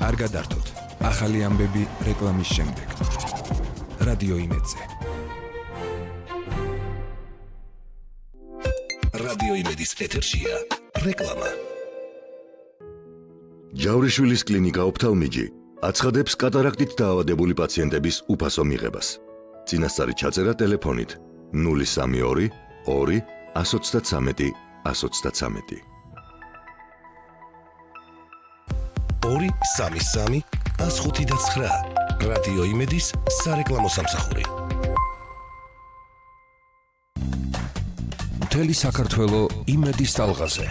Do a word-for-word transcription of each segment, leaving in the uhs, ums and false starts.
არ გადართოთ. ახალი ამბები რეკლამის შემდეგ. რადიო იმედზე. რადიო იმედის ეთერშია რეკლამა. ჯავრიშვილის კლინიკა ოფთალმიჯი აცხადებს კატარაქტით დაავადებული პაციენტების უფასო მიღებას. წინასწარი ჩაწერა ტელეფონით ნული სამი ორი ორი ას ოცდათსამეტი ას ოცდათსამეტი. ორი სამი სამი ას ხუთი და ცხრა. რადიო იმედის სარეკლამო სამსახური. მთელი საქართველო იმედის ტალღაზე.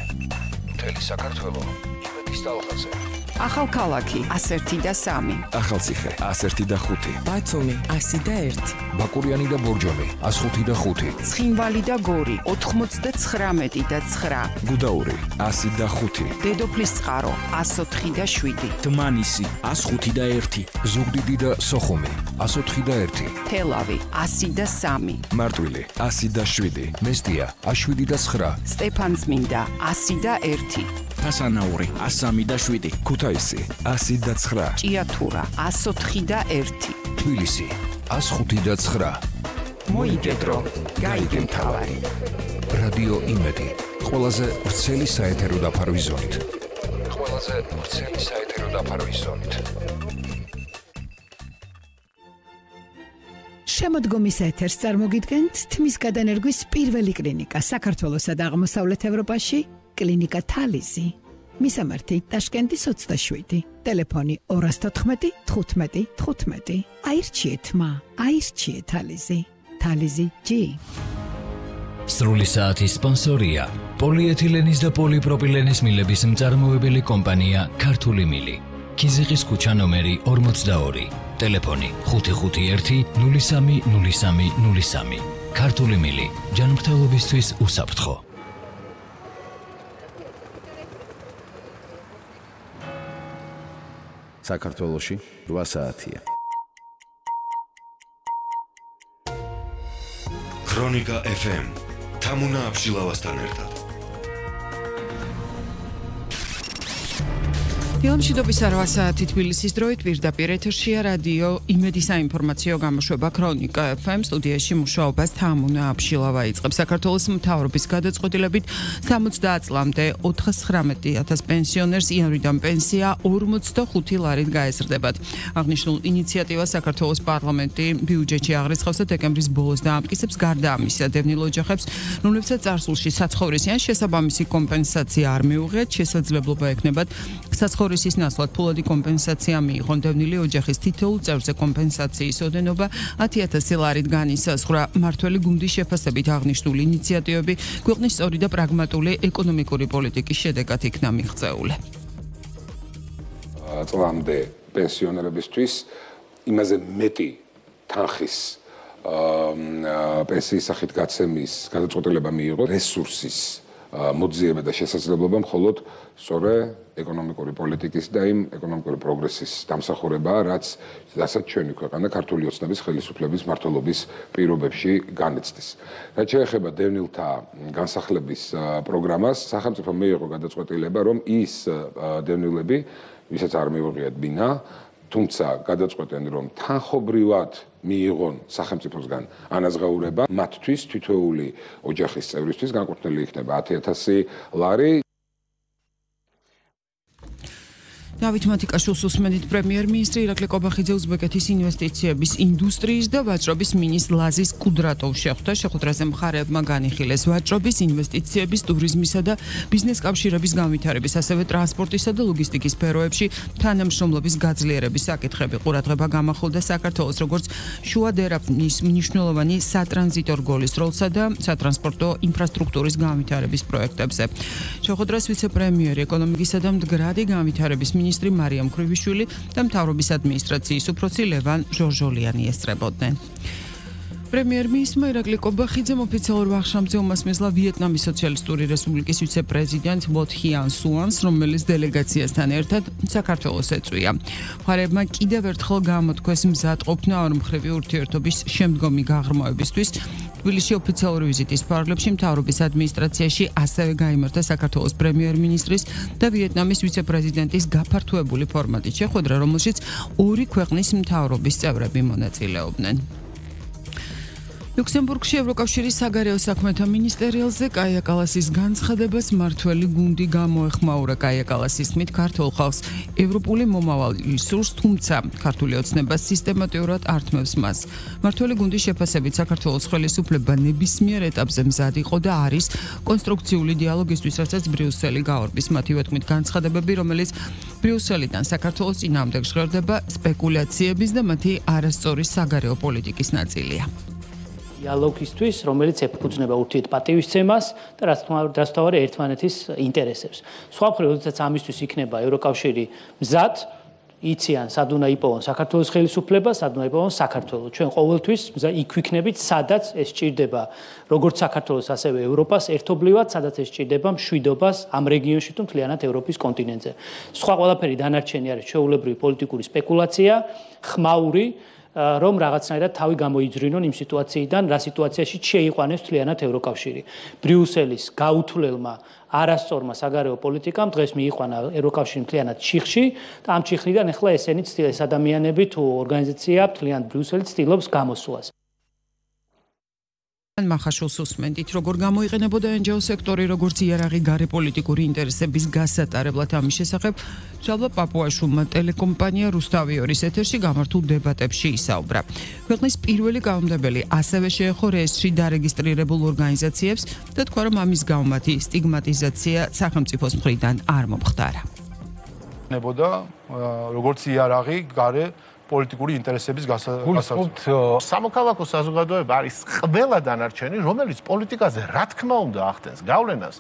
მთელი საქართველო იმედის ტალღაზე. ახალქალაქი ას ერთი და სამი. ახალციხე ას ერთი და ხუთი. ბათუმი ასი და ერთი. ბაკურიანი და ბორჯომი ას ხუთი და ხუთი. ცხინვალი და გორი ოთხმოცდაცხრამეტი და ცხრა. გუდაური ასი და ხუთი. დედოფლის წყარო ას ოთხი და შვიდი. დმანისი ას ხუთი და ერთი. ზუგდიდი და სოხუმი ას ოთხი და ერთი. თელავი ასი და სამი. მარტვილი ასი და შვიდი. მესტია ას შვიდი და ცხრა. სტეფანწმინდა ასი და ერთი. თასანაური ას სამი და შვიდი. ქუთაისი ასი და ცხრა. ჭიათურა ას ოთხი და ერთი. თბილისი ას ხუთი და ცხრა. მოიგედრო გაიგე მთავარი. რადიო იმედი ყველაზე ვრცელი საეთერო დაფარვის ზონით. ყველაზე ვრცელი საეთერო დაფარვის ზონით. შემოდგომის ეთერს წარმოგიდგენთ თმის გადანერგვის პირველი კლინიკა საქართველოსა და აღმოსავლეთ ევროპაში, კლინიკა თალიზი. მისამართი ტაშკენტის ოცდაშვიდი. ტელეფონი ორი თოთხმეტი თხუთმეტი თხუთმეტი. აირჩიეთ მა, აირჩიეთ თალიზი. თალიზი ჯი. სრული საათის სპონსორია პოლიეთილენის და პოლიპროპილენის მილების მწარმოებელი კომპანია ქართული მილი. ქიზიყის ქუჩა ნომერი ორმოცდაორი. ტელეფონი ხუთი ხუთი ერთი ნული სამი ნული სამი ნული სამი. ქართული მილი ჯანმრთელობისთვის უსაფრთხო. საქართველოში რვა საათია. ქრონიკა ეფ ემ თამუნა აბშილავასთან ერთად. დილამშვიდობის რვა საათი თბილისის დროით პირდაპირ ეთერშია რადიო იმედი საინფორმაციო გამოშვება ქრონიკა ეფ ემ სტუდიაში მუშაობას თამუნა აბშილავა იწყებს. საქართველოს მთავრობის გადაწყვეტილებით სამოცდაათ წლამდე ოცდაათი ათას პენსიონერს იანვრიდან პენსია ორმოცდახუთი ლარით გაეზრდებათ. აღნიშნულ ინიციატივას საქართველოს პარლამენტი ბიუჯეტში აღრიცხავს და დეკემბრის ბოლოს დაამტკიცებს. გარდა ამისა, დევნილ ოჯახებს, რომლებსაც წარსულში საცხოვრისი ან შესაბამისი კომპენსაცია არ მიუღიათ, შესაძლებლობა ექნებათ საცხოვრისის ნაცვლად ფულადი კომპენსაცია მიიღონ. დევნილი ოჯახის თითოეულ წევრზე კომპენსაციის ოდენობა ათი ათასი ლარით განისაზღვრა. მართველი გუნდის შეფასებით აღნიშნული ინიციატივები ქვეყნის სწორი და პრაგმატული ეკონომიკური პოლიტიკის შედეგად იქნა მიღწეული. წლამდე პენსიონერებისთვის იმაზე მეტი თანხის პენსიის სახით გაცემის გადაწყვეტილება მიიღო რესურსის მოძიება და შესაძლებლობა მხოლოდ სწორე ეკონომიკური პოლიტიკის და იმ ეკონომიკური პროგრესის დამსახურებაა, რაც რასაც ჩვენი ქვეყანა ქართული ოცნების ხელისუფლების მმართველობის პირობებში განიცდის. რაც შეეხება დევნილთა განსახლების პროგრამას, სახელმწიფო მიიღო გადაწყვეტილება, რომ ის დევნილები, ვისაც არ მიუღიათ ბინა, თუმცა გადაწყვეტენ, რომ თანხობრივად მიიღონ სახელმწიფოსგან ანაზღაურება, მათთვის თითოეული ოჯახის წევრისთვის განკუთვნილი იქნება ათი ათასი ლარი. დავით მათიკაშვილს უსმენთ პრემიერ-მინისტრი ირაკლი ყობახიძე უზბეკეთის ინვესტიციების ინდუსტრიის და ვაჭრობის მინისტრ ლაზის კუდრატოვს შეხვდა. შეხვედრაზე მხარეებმა განიხილეს ვაჭრობის, ინვესტიციების, ტურიზმისა და ბიზნეს კავშირების განვითარების, ასევე ტრანსპორტისა და ლოგისტიკის სფეროებში თანამშრომლობის გაძლიერების საკითხები. ყურადღება გამახვილდა საქართველოს როგორც შუა დერაფნის მნიშვნელოვანი სატრანზიტო რგოლის როლსა და სატრანსპორტო ინფრასტრუქტურის განვითარების პროექტებზე. შეხვედრას ვიცე-პრემიერი ეკონომიკისა და მდგრადი განვითარების მინისტრი მარიამ ქრივიშვილი და მთავრობის ადმინისტრაციის უფროსი ლევან ჟორჟოლიანი ესწრებოდნენ. პრემიერ-მინისტრმა ირაკლი კობახიძემ ოფიციალურ ვახშამზე უმასმისლა ვიეტნამის სოციალისტური რესპუბლიკის ვიცე-პრეზიდენტ ლო თიან სუანს, რომელიც დელეგაციასთან ერთად საქართველოს ეწვია. მხარეებმა კიდევ ერთხელ გამოთქვეს მზადყოფნა ორმხრივი ურთიერთობის შემდგომი გაღრმავებისთვის. თბილისში ოფიციალური ვიზიტის ფარგლებში მთავრობის ადმინისტრაციაში ასევე გაიმართა საქართველოს პრემიერ-მინისტრის და ვიეტნამის ვიცე-პრეზიდენტის გაფართოებული ფორმატით შეხვედრა, რომელშიც ორი ქვეყნის მთავრობის წევრები მონაწილეობდნენ. ლუქსემბურგში ევროკავშირის საგარეო საქმეთა მინისტერიალზე კაია კალასის განცხადებას მართველი გუნდი გამოეხმაურა. კაია კალასის თქმით, ქართულ ხალხს ევროპული მომავალი სურს, თუმცა ქართული ოცნება სისტემატურად ართმევს მას. მართველი გუნდის შეფასებით საქართველოს ხელისუფლება ნებისმიერ ეტაპზე მზად იყო და არის კონსტრუქციული დიალოგისთვის, რასაც ბრიუსელი გაორბის. მათივე თქმით, განცხადებები, რომელიც ბრიუსელიდან საქართველოს წინააღმდეგ ჟღერდება, სპეკულაციების და მათი არასწორი საგარეო პოლიტიკის ნაწილია. დიალოგისთვის, რომელიც ეფუძნება ურთიერთპატივისცემას და რაც თქმა უნდა ერთმანეთის ინტერესებს. სხვა მხრივ, როდესაც ამისთვის იქნება ევროკავშირი მზად, იციან სად უნდა იპოვონ საქართველოს ხელისუფლება, სად უნდა იპოვონ საქართველო. ჩვენ ყოველთვის იქ ვიქნებით, სადაც ეს სჭირდება როგორც საქართველოს, ასევე ევროპას ერთობლივად, სადაც ეს სჭირდება მშვიდობას ამ რეგიონში თუ მთლიანად ევროპის კონტინენტზე. სხვა ყველაფერი დანარჩენი არის ჩვეულებრივი პოლიტიკური სპეკულაცია, ხმაური, რომ რაღაცნაირად თავი გამოიძრინონ იმ სიტუაციიდან, რა სიტუაციაში შეიყვანეს მთლიანად ევროკავშირი. ბრიუსელის გაუთვლელმა არასწორმა საგარეო პოლიტიკამ დღეს მიიყვანა ევროკავშირი მთლიანად ჩიხში და ამ ჩიხიდან ახლა ესენი ეს ადამიანები თუ ორგანიზაცია მთლიანად ბრიუსელი ცდილობს გამოსვლას. მახაშულს უსმენდით, როგორ გამოიყენებოდა ენჯეო სექტორი, როგორც იარაღი გარეპოლიტიკური ინტერესების გასატარებლად. ამის შესახებ ჟალვა პაპუაშვილმა ტელეკომპანია რუსთავიორის ეთერში გამართულ დებატებში ისაუბრა. ქვეყნის პირველი კანონმდებელი ასევე შეეხო რეესტრში დარეგისტრირებულ ორგანიზაციებს და თქვა, რომ ამის გამო მათი სტიგმატიზაცია სახელმწიფოს მხრიდან არ მომხდარა. ნებოდა როგორც იარაღი გარე პოლიტიკური ინტერესების გასაცდელად. სამოქალაქო საზოგადოება არის ყველა დანარჩენი, რომელიც პოლიტიკაზე რა თქმა უნდა ახდენს გავლენას,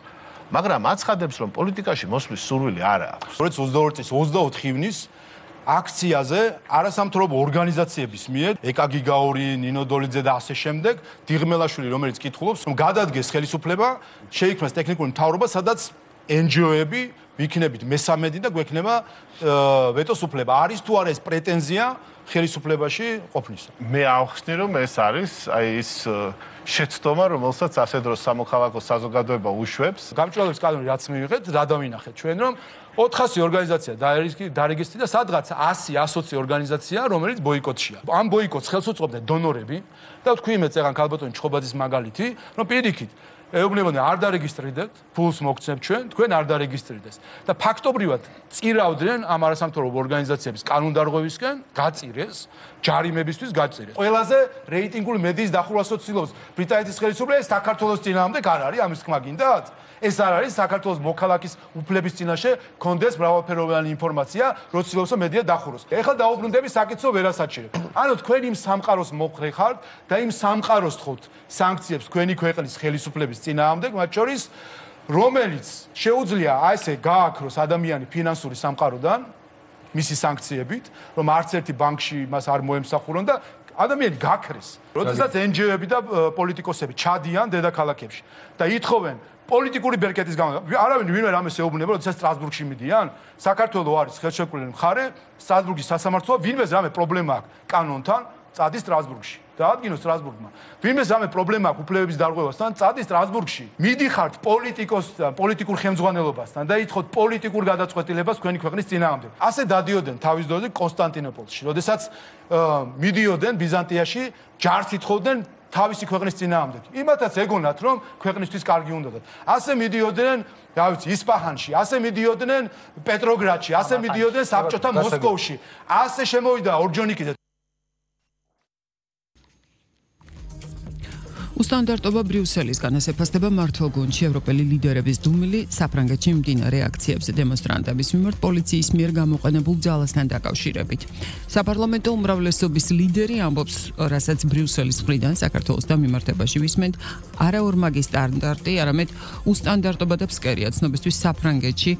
მაგრამ აცხადებს, რომ პოლიტიკაში მოსვლის სურვილი არ აქვს. ორი ათას ოცდაორი წლის ოცდაოთხი ივნის აქციაზე არასამთავრობო ორგანიზაციების მიერ ეკა გიგაური, ნინო დოლიძე და ასე შემდეგ, დიღმელაშვილი, რომელიც კითხულობს, რომ გადადგეს ხელისუფლება, შეიქმნას ტექნიკური მთავრობა, სადაც ენჯიოები ვიქნებით მესამედი და გვექნება ვეტოს უფლება. არის თუ არა ეს პრეტენზია ხელისუფლებაში ყოფნისა? მე ავხსნი, რომ ეს არის აი ის შეცდომა, რომელსაც ასე დროს სამოქალაქო საზოგადოება უშვებს. გამჭვირვალეობის კანონი რაც მივიღეთ, რა დავინახეთ ჩვენ, რომ ოთხასი ორგანიზაცია დარეგისტრირდა და სადღაც ასი ასოცი ორგანიზაცია, რომელიც ბოიკოტშია. ამ ბოიკოტს ხელს უწყობდნენ დონორები და თქვი იმეც ეგან ქალბატონი ჩხობაძის მაგალითი, რომ პირიქით ეუბნებოდნენ არ დარეგისტრირდეთ, ფულს მოგცემთ ჩვენ, თქვენ არ დარეგისტრირდეს. და ფაქტობრივად წირავდნენ ამ არასამთავრობო ორგანიზაციების კანონდარღვევისკენ, გაწირეს, ჯარიმებისთვის გაწირეს. ყველაზე რეიტინგული მედიის დახურვას ცდილობს ბრიტანეთის ხელისუფლება, ეს საქართველოს წინააღმდეგ არ არის, ამის თქმა გინდათ? ეს არ არის საქართველოს მოქალაქის უფლების წინაშე კონდეს მრავალფეროვანი ინფორმაცია, რო ცდილობს მედია დახუროს. ეხლა დაუბრუნდები საკითხო ვერასაჩირებ. ანუ თქვენ იმ სამყაროს მოხრე ხართ და იმ სამყაროს თხოვთ სანქციებს თქვენი ქვეყნის ხელისუფლების წინააღმდეგ, მათ შორის რომელიც შეუძლია აი ესე გააქროს ადამიანი ფინანსური სამყაროდან მისი სანქციებით, რომ არც ერთი ბანკში მას არ მოემსახურონ და ადამიანი გაქრეს. როდესაც ენჯიოები და პოლიტიკოსები ჩადიან დედაქალაქებში და ითხოვენ პოლიტიკური ბერკეტის გამო არავინ ვინმე რამეს ეუბნება, როდესაც სტრასბურგში მიდიან, საქართველოს არის ხელშეკრულებული მხარე, სტრასბურგის სასამართლოა, ვინმე რამე პრობლემა აქვს კანონთან, წადის სტრასბურგში. დაადგინოს სტრასბურგმა. ვინმე რამე პრობლემა აქვს უფლებების დარღვევასთან, წადის სტრასბურგში. მიდიხართ პოლიტიკოსთან, პოლიტიკურ ხელმძღვანელობასთან და ითხოვთ პოლიტიკურ გადაწყვეტილებას თქვენი ქვეყნის წინააღმდეგ. ასე დადიოდნენ თავის დროზე კონსტანტინოპოლში, როდესაც მიდიოდნენ ბიზანტიაში, ჯარს ითხოვდნენ თავისი ქვეყნის წინააღმდეგ. იმათაც ეგონათ, რომ ქვეყნისთვის კარგი უნდათ. ასე მიდიოდნენ, რა ვიცი, ისპაჰანში, ასე მიდიოდნენ პეტროგრადში, ასე მიდიოდნენ საბჭოთა მოსკოვში. ასე შემოვიდა ორჯონიკიძე. უსტანდარტობა ბრიუსელისგან ასეფასდება მართლ გუნდში ევროპელი ლიდერების დუმილი საფრანგეთში მიმდინარე აქციებზე დემონსტრანტების მიმართ პოლიციის მიერ გამოყენებულ ძალასთან დაკავშირებით. საპარლამენტო უმრავლესობის ლიდერი ამბობს, რასაც ბრიუსელის მხრიდან საქართველოს დამიმართებაში ვისმენთ, არა ორმაგი სტანდარტი, არამედ უსტანდარტობა და ფსკერია. ცნობისთვის საფრანგეთში